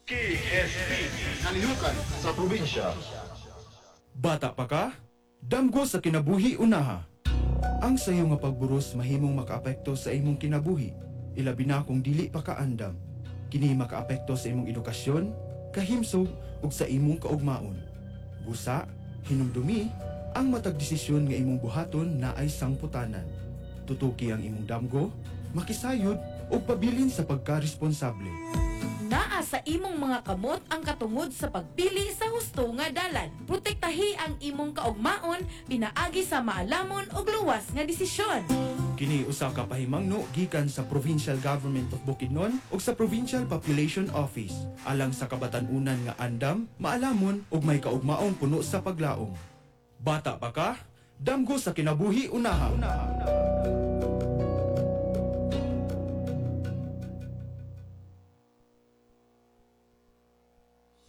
KSP. Kalihukan sa probinsya. Bata pa ka? Damgo sa kinabuhi unaha. Ang sayo nga pagburos mahimong makaapekto sa imong kinabuhi, ilabi na kung dili pa ka andam. Kini makaapekto sa imong edukasyon, kahimsog ug sa imong kaugmaon. Busa, hinumdumi, ang matag desisyon nga imong buhaton naay sangputanan. Tutuki ang imong damgo, makisayod ug pabilin sa pagkaresponsable. Naa sa imong mga kamot ang katungod sa pagpili sa husto nga dalan. Protektahi ang imong kaugmaon pinaagi sa maalamon ug luwas nga desisyon. Kini usa ka pahimangno gikan sa Provincial Government of Bukidnon ug sa Provincial Population Office alang sa kabatan-unan nga andam, maalamon ug may kaugmaong puno sa paglaom. Bata pa ka? Damgo sa kinabuhi unaha.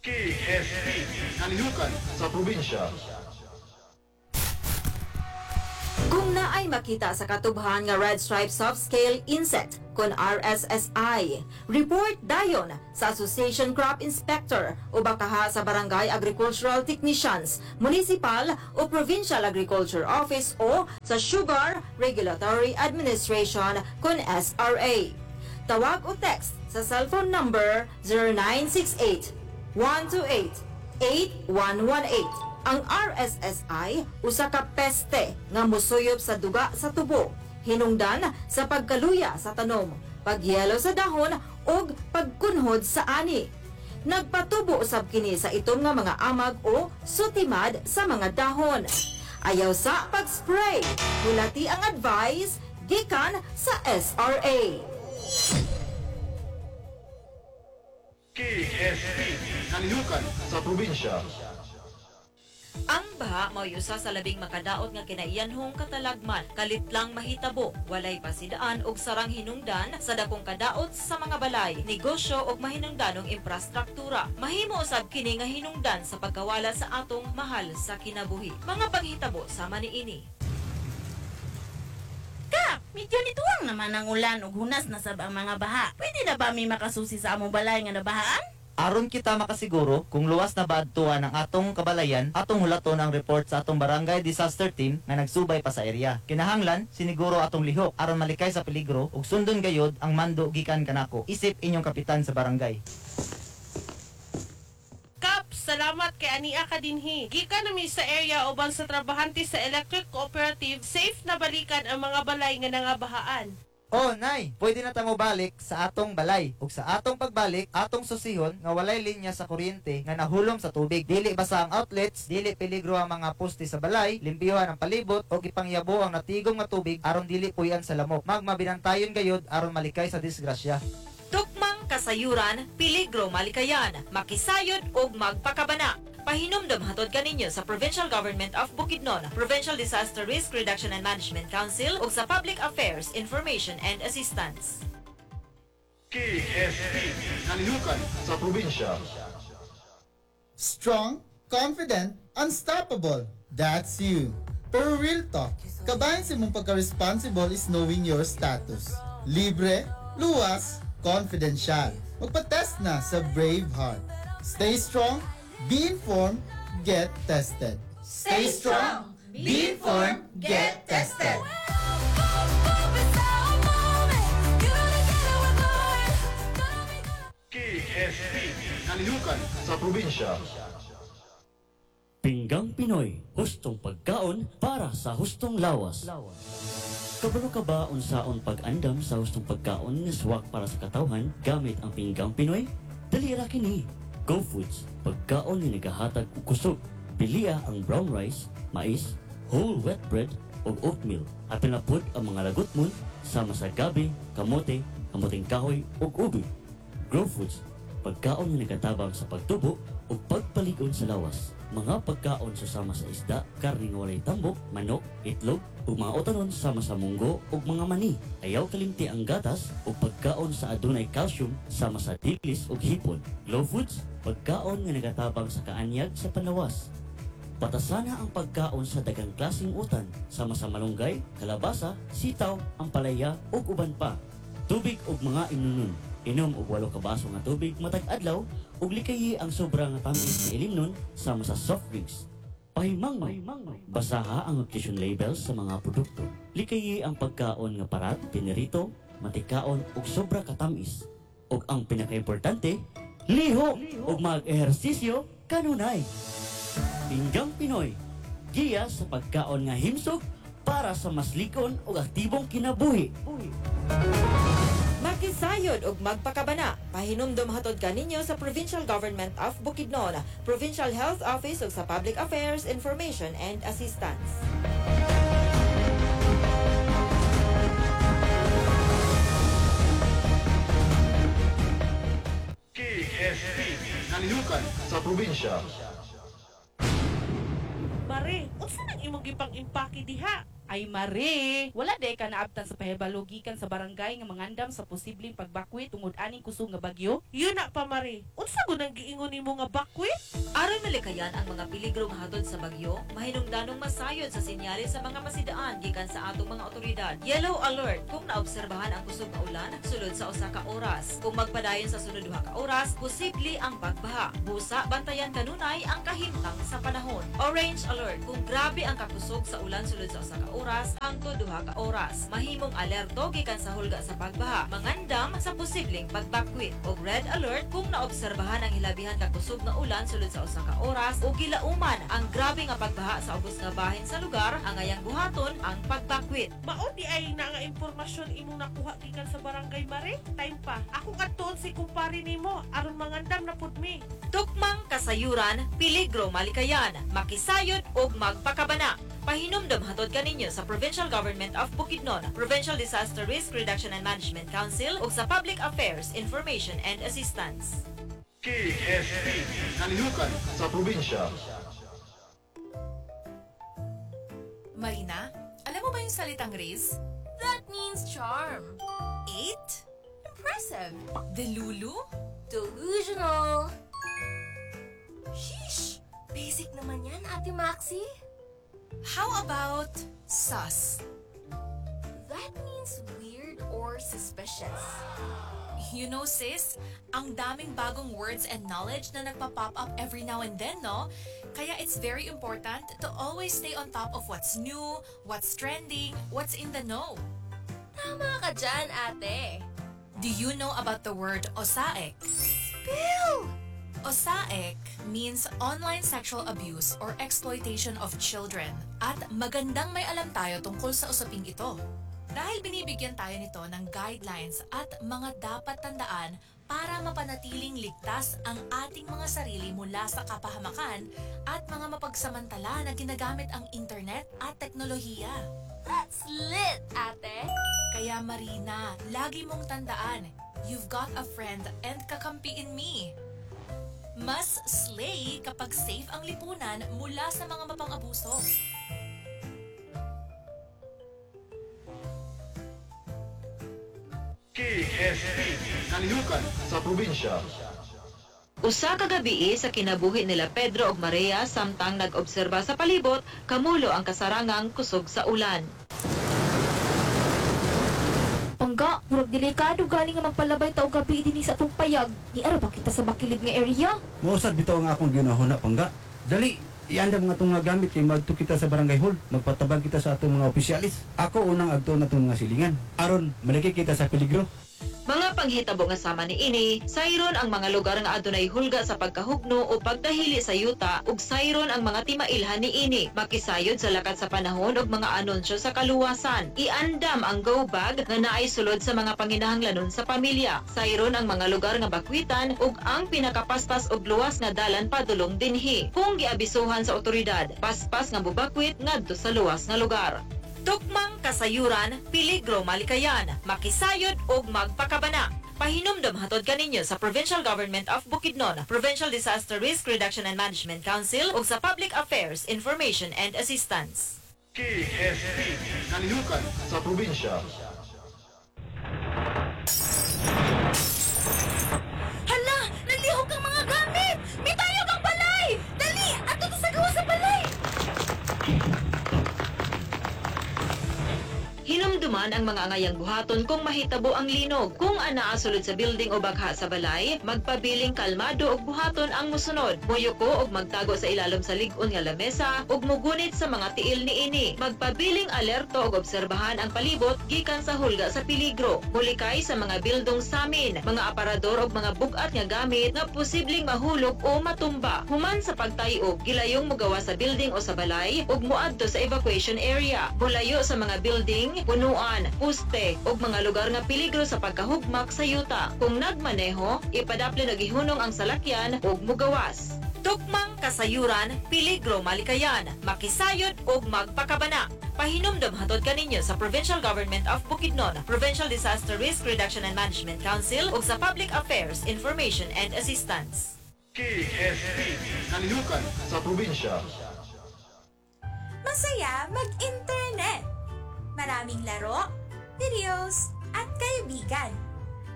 KSP. Kalihukan sa probinsya. Kung naay makita sa katubhan nga red stripe soft scale insect kon RSSI, report dayon sa Association Crop Inspector o bakaha sa Barangay Agricultural Technicians, Municipal o Provincial Agriculture Office o sa Sugar Regulatory Administration kon SRA. Tawag o text sa cellphone number 0968 128 8118. Ang RSSI usa ka peste nga mosuyop sa duga sa tubo, hinungdan sa pagkaluya sa tanom, pagyelo sa dahon ug pagkunhod sa ani. Nagpatubo usab kini sa itom nga mga amag o sutimad sa mga dahon. Ayaw sa pag-spray. Hulati ang advice gikan sa SRA. KSP. Kalihukan sa probinsya. Ang baha mao'y usa sa labing makadaot nga kinaiyanhong katalagman, kalit lang mahitabo, walay pasidaan og sarang hinungdan sa dakong kadaot sa mga balay, negosyo ug mahinungdanong imprastruktura. Mahimo usab kini nga hinungdan sa pagkawala sa atong mahal sa kinabuhi. Mga panghitabo sama niini. Kap, medyo nituwang naman ang ulan ug hunas na sab ang mga baha. Pwede na ba mi makasusi sa among balay nga nabahaan? Aron kita makasiguro kung luwas na ba adtuan ang atong kabalayan, atong hulaton ang report sa atong barangay disaster team nga nagsubay pa sa area. Kinahanglan siniguro atong lihok aron malikay sa peligro ug sundon gayod ang mando gikan kanako. Isip inyong kapitan sa barangay. Kap, salamat kay ania ka dinhi. Gikan na mi sa area uban sa trabahante sa Electric Cooperative, safe na balikan ang mga balay nga nangabahaan. Oh, nay, pwede na ta balik sa atong balay. Ug sa atong pagbalik, atong susihon nga walay linya sa kuryente nga nahulom sa tubig. Dili basa ang outlets, dili peligro ang mga poste sa balay, limpiyuhan ang palibot ug ipangyabo ang natigom nga tubig aron dili puyan sa lamok. Magmabinantayon gayod aron malikay sa disgrasya. Tukmang kasayuran, peligro malikayan, makisayod ug magpakabana. Pahinumdom hatod kaninyo sa Provincial Government of Bukidnon, Provincial Disaster Risk Reduction and Management Council ug sa Public Affairs Information and Assistance. KSP. Kalihukan sa probinsya. Strong, confident, unstoppable. That's you. Pero real talk, kabahin sa imong pagka-responsible is knowing your status. Libre, luwas, confidential. Magpa-test na sa Braveheart. Stay strong, be informed, get tested. Stay strong, be informed, get tested. KSP. Kalihukan sa probinsya. Pinggang Pinoy, hustong pagkaon para sa hustong lawas. Kabalo ka ba unsaon pag-andam sa hustong pagkaon nga swak para sa katawhan gamit ang Pinggang Pinoy? Dali ra kini. Go Foods, pagkaon nga nagahatag og kusog. Pilia ang brown rice, mais, whole wet bread ug oatmeal. Apil na pud ang mga lagutmon sama sa gabi, kamote, kamuting kahoy ug ubi. Grow Foods, pagkaon nga nagatabang sa pagtubo ug pagpalig-on sa lawas. Mga pagkaon susama sa isda, karne nga walay tambok, manok, itlog, ug mga utanon sama sa munggo ug mga mani. Ayaw kalimti ang gatas ug pagkaon sa adunay calcium sama sa dilis ug hipon. Glow Foods, pagkaon nga nagatabang sa kaanyag sa panlawas. Patasana ang pagkaon sa daghang klaseng utan sama sa malunggay, kalabasa, sitaw, ampalaya ug uban pa. Tubig ug mga inunon. Inom og 8 ka baso nga tubig matag adlaw ug likayi ang sobra nga tamis nga ilimnon sama sa soft drinks. Pahimangno, basaha ang nutrition labels sa mga produkto. Likayi ang pagkaon nga parat, pinirito, matikaon ug sobra katamis. Ug ang pinakaimportante, lihok ug mag-ehersisyo kanunay. Pinggang Pinoy, giya sa pagkaon nga himsog para sa mas likon ug aktibong kinabuhi. Makisayod og magpakabana. Pahinumdom hatod kaninyo sa Provincial Government of Bukidnon, Provincial Health Office ug sa Public Affairs Information and Assistance. KSP. Kalihukan sa probinsya. Mare, unsa nang imong gipang impake diha? Ay mare, wala day ka naabtan sa pahibalo gikan sa barangay nga mangandam sa posibleng pagbakwit tungod aning kusog nga bagyo. Yun na pa mare. Unsa gud ang giingon nimo nga bakwit? Aron malikayan ang mga peligro nga hatod sa bagyo, mahinungdanong masayod sa senyales sa mga pasidaan gikan sa atong mga otoridad. Yellow alert kung naobserbahan ang kusog nga ulan sulod sa usa ka oras. Kung magpadayon sa sunod duha ka oras, posible ang pagbaha. Busa bantayan kanunay ang kahimtang sa panahon. Orange alert kung grabe ang kakusog sa ulan sulod sa usa ka oras hangtod duha ka oras. Mahimong alerto gikan sa hulga sa pagbaha, mangandam sa posibleng pagbakwit. Og red alert kung naobserbahan ang hilabihan kakusog nga ulan sulod sa usa ka oras o gilauman ang grabe nga pagbaha sa ubos nga bahin sa lugar, angayang buhaton ang pagbakwit. Mao di ay na nga impormasyon imong nakuha gikan sa barangay mare. Time pa. Ako kadtuon si kumpare nimo aron mangandam na pud mi. Tukmang kasayuran, peligro malikayan, makisayod og magpakabana. Pahinumdom hatod kaninyo sa Provincial Government of Bukidnon, Provincial Disaster Risk Reduction and Management Council ug sa Public Affairs Information and Assistance. KSP. Kalihukan sa probinsya. Marina, alam mo ba yung salitang Riz? That means charm. 8? Impressive. Delulu? Delusional. Sheesh! Basic naman yan, Ate Maxi. How about sus? That means weird or suspicious. You know, sis, ang daming bagong words and knowledge na nagpa-pop up every now and then, no? Kaya it's very important to always stay on top of what's new, what's trending, what's in the know. Tama ka dyan, ate. Do you know about the word osaek? Spill! OSAEC means online sexual abuse or exploitation of children at magandang may alam tayo tungkol sa usaping ito. Dahil binibigyan tayo nito ng guidelines at mga dapat tandaan para mapanatiling ligtas ang ating mga sarili mula sa kapahamakan at mga mapagsamantala na ginagamit ang internet at teknolohiya. That's lit, ate. Kaya Marina, lagi mong tandaan, you've got a friend and kakampi in me. Mas slay kapag safe ang lipunan mula sa mga mapang-abuso. KSP. Kalihukan sa probinsya. Usa ka gabii sa kinabuhi nila Pedro ug Maria samtang nag-obserba sa palibot, kamulo ang kasarangang kusog sa ulan. Pangga, murag delikado galing nga magpalabay ta og gabi dinhi sa atong payag. Niara ba kita sa makilid nga area? Mausad bitaw ang akong ginahuna pangga. Dali, iandam nga itong mga gamit kay magto kita sa barangay hall. Magpatabang kita sa atong mga opisyalis. Ako unang agto na itong mga silingan. Aron, malaki kita sa peligro. Mga panghitabo nga sama niini, sayron ang mga lugar nga adunay hulga sa pagkahugno o pagdahili sa yuta ug sayron ang mga timailhan niini. Makisayod sa lakat sa panahon ug mga anunsyo sa kaluwasan. Iandam ang go bag nga naay sulod sa mga panginahanglanon sa pamilya. Sayron ang mga lugar nga bakwitan ug ang pinakapaspas og luwas nga dalan padulong dinhi. Kung giabisuhan sa otoridad, paspas nga mubakwit ngadto sa luwas nga lugar. Tukmang kasayuran, peligro malikayan, makisayod og magpakabana. Pahinumdom hatod kaninyo sa Provincial Government of Bukidnon, Provincial Disaster Risk Reduction and Management Council ug sa Public Affairs Information and Assistance. KSP. Kalihukan sa probinsya. Hala! Nalihok ang mga gamit! Mitayog ang balay! Dali! Ato to sa gawa sa balay! Hinumduman Tuman ang mga angayang buhaton kung mahitabo ang linog. Kung anaa sulod sa building o bagha sa balay, magpabiling kalmado ug buhaton ang musunod. Muyuko ug magtago sa ilalom sa lig-on nga lamesa ug mugunit sa mga tiil niini. Magpabiling alerto ug obserbahan ang palibot gikan sa hulga sa peligro. Mulikay sa mga bildong samin, mga aparador ug mga bug-at nga gamit nga posibleng mahulog o matumba. Human sa pagtayog, gilayong mogawas sa building o sa balay ug moadto sa evacuation area. Mulayo sa mga building, punuan, puste ug mga lugar nga peligro sa pagkahugmak sa yuta. Kung nagmaneho, ipadapli og ihunong ang salakyan ug mugawas. Tukmang kasayuran, peligro malikayan, makisayod ug magpakabana. Pahinumdom hatod kaninyo sa Provincial Government of Bukidnon, Provincial Disaster Risk Reduction and Management Council ug sa Public Affairs Information and Assistance. KSP, Kalihukan sa Probinsya. Masaya mag-internet. Maraming laro, videos, at kaibigan.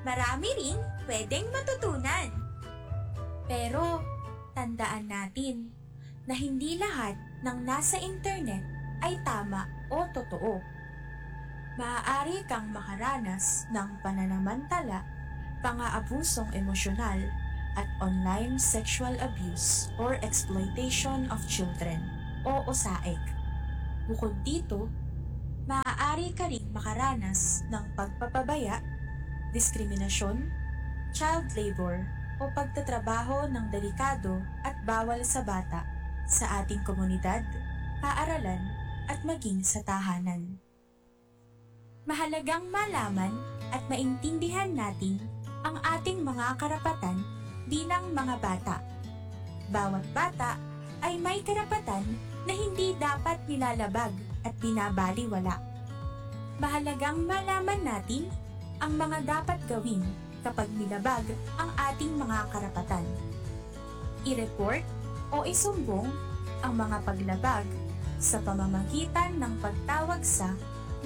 Marami ring pwedeng matutunan. Pero, tandaan natin na hindi lahat ng nasa internet ay tama o totoo. Maaari kang makaranas ng pananamantala, pang-aabusong emosyonal, at online sexual abuse or exploitation of children o OSAEC. Bukod dito, maaari ka ring makaranas ng pagpapabaya, diskriminasyon, child labor o pagtatrabaho ng delikado at bawal sa bata sa ating komunidad, paaralan at maging sa tahanan. Mahalagang malaman at maintindihan natin ang ating mga karapatan bilang mga bata. Bawat bata ay may karapatan na hindi dapat nilalabag at binabaliwala. Mahalagang malaman natin ang mga dapat gawin kapag nilabag ang ating mga karapatan. I-report o isumbong ang mga paglabag sa pamamagitan ng pagtawag sa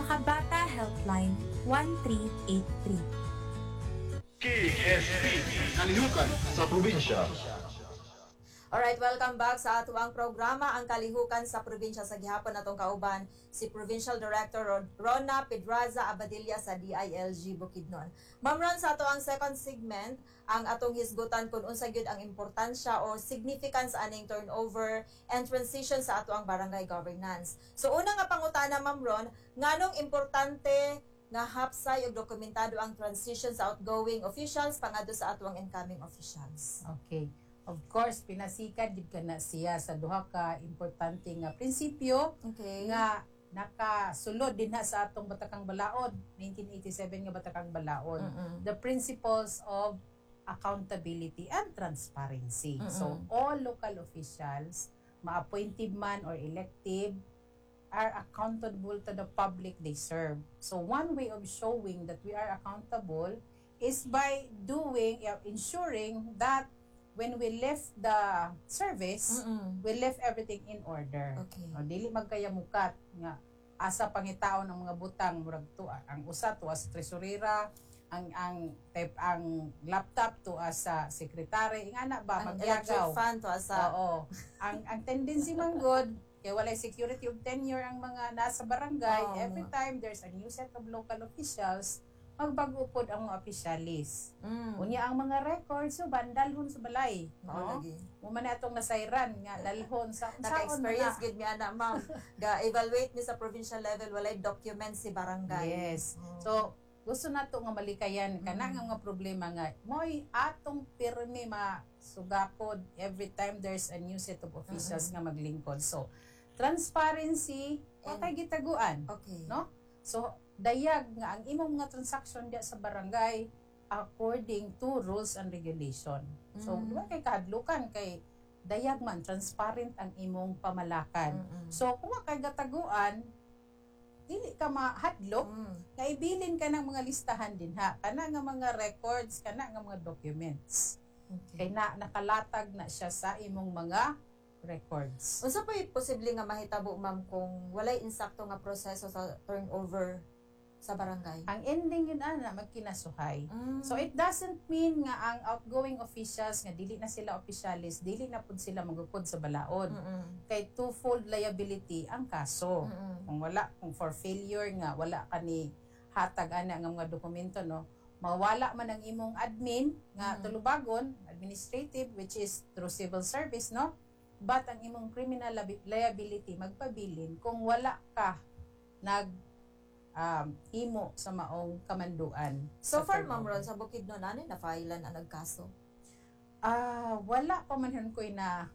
Makabata Helpline 1383. KSP, Kalihukan sa Probinsya. Alright, welcome back sa atuang programa, Ang Kalihukan sa Probinsya. Sa gihapon natong kauban si Provincial Director Rona Pedraza Abadilla sa DILG Bukidnon. Ma'am Ron, sa atoang second segment, ang atong hisgutan kung unsa gyud ang importansya o significance aning turnover and transition sa atoang barangay governance. So una nga pangutana, Ma'am Ron, nganong importante nga hapsay ug dokumentado ang transition sa outgoing officials pangadto sa atoang incoming officials? Okay. Of course, pinasikad gid ka na siya sa duha ka importante nga prinsipyo nga nakasulod din ha sa atong Batakang Balaod, 1987 nga Batakang Balaod. The principles of accountability and transparency. So all local officials, ma-appointed man or elective, are accountable to the public they serve. So one way of showing that we are accountable is by ensuring that when we left the service, we left everything in order. O, dili magkayamukat nga asa pangitaon ang mga butang, murag to ang usa to as tresurera, ang type ang laptop to as sa secretary, ingana ba? Ang electric Magyagaw. Fan to asa. Oo. Ang tendency man gud kay walay security of tenure ang mga nasa barangay, every time there's a new set of local officials, magbago pod ang mga opisyalis. Unya ang mga records so bandalhon sa balay, Mao no? lagi. Mo man na atong nasayran nga dalhon sa unsaon man Naka-experience na. gid mi ana, ma'am. Ga-evaluate mi sa provincial level, walay document si barangay. Yes. So gusto nato nga malikayan kana nga mga problema nga mo'y atong pirmi masugakod every time there's a new set of officials nga maglingkod. So transparency, wa kay gitaguan. No? So dayag nga ang imong mga transaction diya sa barangay according to rules and regulation. So wa kay kahadlukan kay dayag man, transparent ang imong pamalakad. So kung wa kay gataguan, dili ka mahadlok nga ibilin ka ng mga listahan dinha, kana nga mga records, kana nga mga documents, kay na nakalatag na siya sa imong mga records. Unsa pa'y posible nga mahitabo, ma'am, kung walay insakto nga proseso sa turnover sa barangay? Ang ending yun ana, magkinasuhay. So it doesn't mean nga ang outgoing officials nga dili na sila opisyalis, dili na pud sila magukod sa balaod. Kay twofold liability ang kaso. Kung wala, kung for failure nga wala ka ni hatag ana nga mga dokumento, no, mawala man ang imong admin nga tulubagon, administrative, which is through civil service, no, but ang imong criminal liability magpabilin kung wala ka nag himo sa maong kamanduan. So sa far, Ma'am turnover. Ron, sa Bukidnon, ano na filean ang nagkaso? Ah, wala pa man hun ko'y na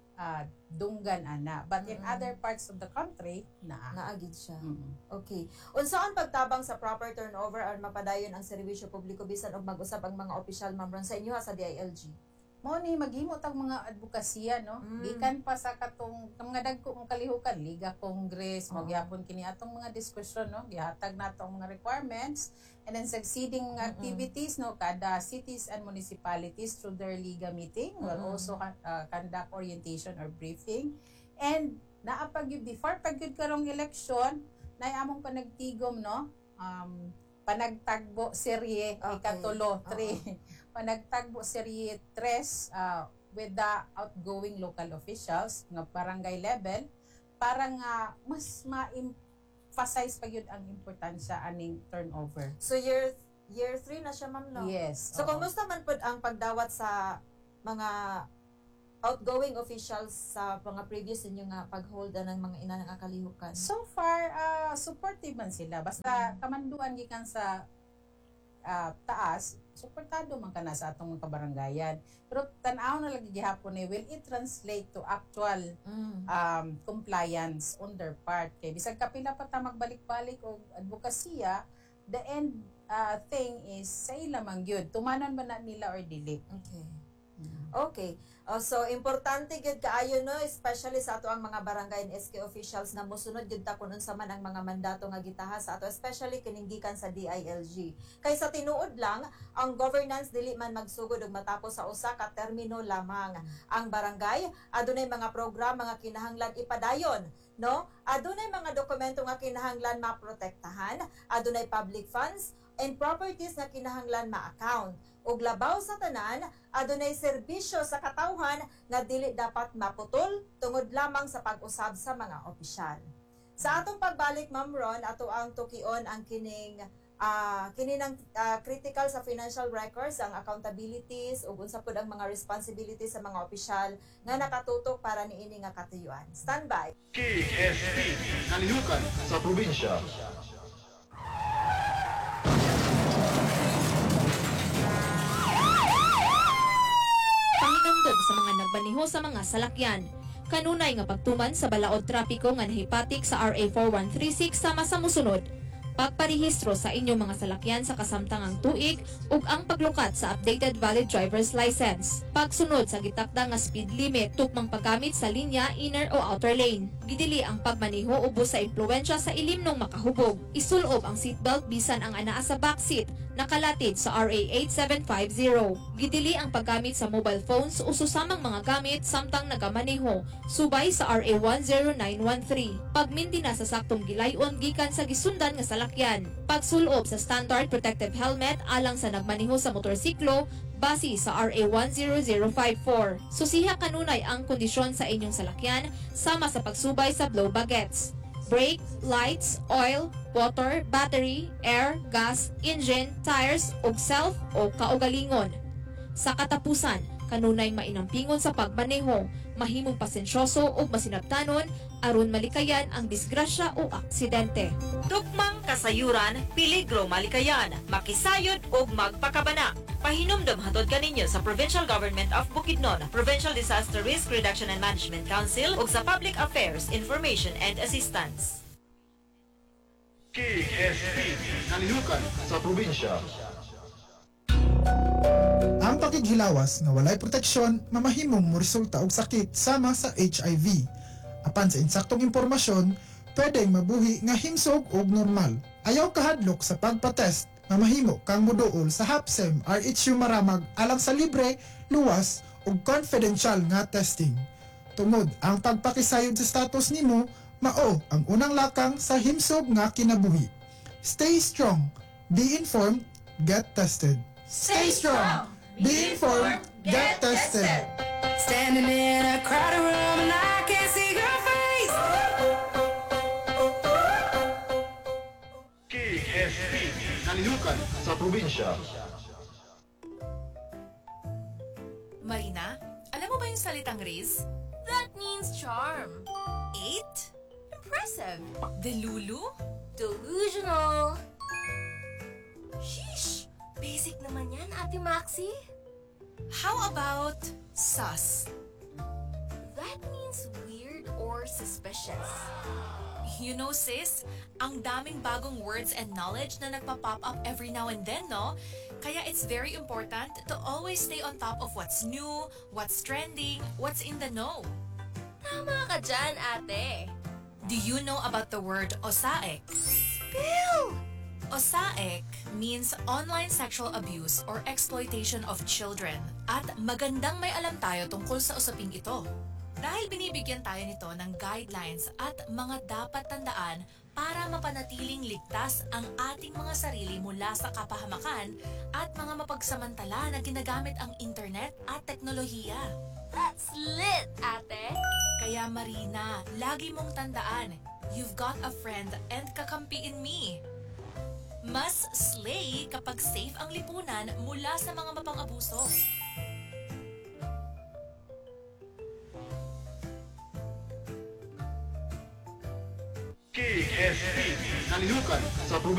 dunggan ana. But in other parts of the country, naa. Naa gid siya. Okay. Unsaon pagtabang sa proper turnover aron mapadayon ang serbisyo publiko bisan og mag-usab ang mga opisyal, Ma'am Ron, sa inyo ha, sa DILG? Mao ni maghimo tag mga advokasya, no? Gikan pa sa katong mga dagko mong kalihukan, Liga, Congress, mo gyapon kini atong mga diskusyon, no? Gihatag nato ang mga requirements and then succeeding mga activities, no, kada cities and municipalities through their liga meeting will also conduct orientation or briefing. And naa pa gyud before pa gyud karong eleksyon, nay among panagtigom, no? Panagtagbo serye ikatulo, 3. Panagtagbo serye 3 with the outgoing local officials nga barangay level para nga mas ma-emphasize pa gyud ang importansya aning turnover. So year year 3 na siya, ma'am, no? Yes. So oo. kumusta man pud ang pagdawat sa mga outgoing officials sa mga previous ninyo nga pag-hold ng mga ina nga kalihukan? So far, supportive man sila. Basta kamanduan gikan sa taas, suportado man kana sa atong mga kabaranggayan. Pero tan-aw na lagi gihapon ni will it translate to actual compliance on their part. Kay bisag kapila pa ta magbalik-balik og advokasya, the end thing is sa ila man gyud. Tumanan ba na nila or dili? Okay. Okay. Oh, so importante gyud kaayo, no, especially sa ato ang mga barangay and SK officials nga mosunod gyud ta kun unsa man ang mga mandato nga gitaha sa ato, especially kining gikan sa DILG. Kay sa tinuod lang, ang governance dili man magsugod ug matapos sa usa ka termino lamang. Ang barangay adunay mga programa nga kinahanglan ipadayon, no? Adunay mga dokumento nga kinahanglan maprotektahan, adunay public funds and properties nga kinahanglan ma-account. Ug labaw sa tanan, adunay serbisyo sa katawhan nga dili dapat maputol tungod lamang sa pag-usab sa mga opisyal. Sa atong pagbalik, Ma'am Ron, ato ang tukion ang kining kini ng critical sa financial records, ang accountabilities ug unsa pud ang mga responsibilities sa mga opisyal nga nakatutok para niini nga katuyuan. Stand by. KSP. Kalihukan sa probinsya. Pahinumdom sa mga nagmaneho sa mga salakyan. Kanunay nga pagtuman sa balaod trapiko nga nahipatik sa RA 4136 sama sa musunod: pagparehistro sa inyong mga salakyan sa kasamtangang tuig ug ang paglukat sa updated valid driver's license. Pagsunod sa gitakda nga speed limit, tukmang paggamit sa linya, inner o outer lane. Gidili ang pagmaneho ubos sa impluwensya sa ilimnong makahubog. Isulob ang seatbelt bisan ang anaa sa backseat, nakalatid sa RA 8750. Gidili ang paggamit sa mobile phones o susamang mga gamit samtang nagamaneho, subay sa RA 10913. Pagmindina sa saktong gilayon gikan sa gisundan nga salakyan. Pagsulob sa standard protective helmet alang sa nagmaneho sa motorsiklo, base sa RA 10054. Susiha kanunay ang kondisyon sa inyong salakyan sama sa pagsubay sa blow bagets, brake, lights, oil, water, battery, air, gas, engine, tires, ug self o kaugalingon. Sa katapusan, kanunay mainampingon sa pagmaneho, mahimong pasensyoso ug masinabtanon aron malikayan ang disgrasya o aksidente. Tukmang kasayuran, peligro malikayan, makisayod ug magpakabana. Pahinumdom hatod kaninyo sa Provincial Government of Bukidnon, Provincial Disaster Risk Reduction and Management Council ug sa Public Affairs Information and Assistance. KSP. Kalihukan sa probinsya. Ang pakighilawas nga walay proteksyon mamahimong moresulta og sakit sama sa HIV. Apan sa insaktong impormasyon, pwedeng mabuhi nga himsog og normal. Ayaw kahadlok sa pagpa-test, mamahimo kang muduol sa HAPSEM RHU Maramag alang sa libre, luwas ug confidential nga testing. Tungod ang pagpakisayod sa status nimo, mao ang unang lakang sa himsog nga kinabuhi. Stay strong, be informed, get tested. Stay strong, be informed, get tested. Standing in a crowded room and I can't see your face. KSP. Kalihukan sa probinsya. Marina, alam mo ba yung salitang Riz? That means charm. Eight? Impressive. Delulu? Delusional. Sheesh! Basic naman yan, Ate Maxi. How about sus? That means weird or suspicious. You know, sis, ang daming bagong words and knowledge na nagpa-pop up every now and then, no? Kaya it's very important to always stay on top of what's new, what's trending, what's in the know. Tama ka dyan, ate. Do you know about the word OSAEC? Spill! OSAEC means online sexual abuse or exploitation of children. At magandang may alam tayo tungkol sa usaping ito. Dahil binibigyan tayo nito ng guidelines at mga dapat tandaan para mapanatiling ligtas ang ating mga sarili mula sa kapahamakan at mga mapagsamantala na ginagamit ang internet at teknolohiya. That's lit, ate. Kaya Marina, lagi mong tandaan, you've got a friend and kakampi in me. Mas slay kapag safe ang lipunan mula sa mga mapang-abuso. KSP. Kalihukan sa probinsya.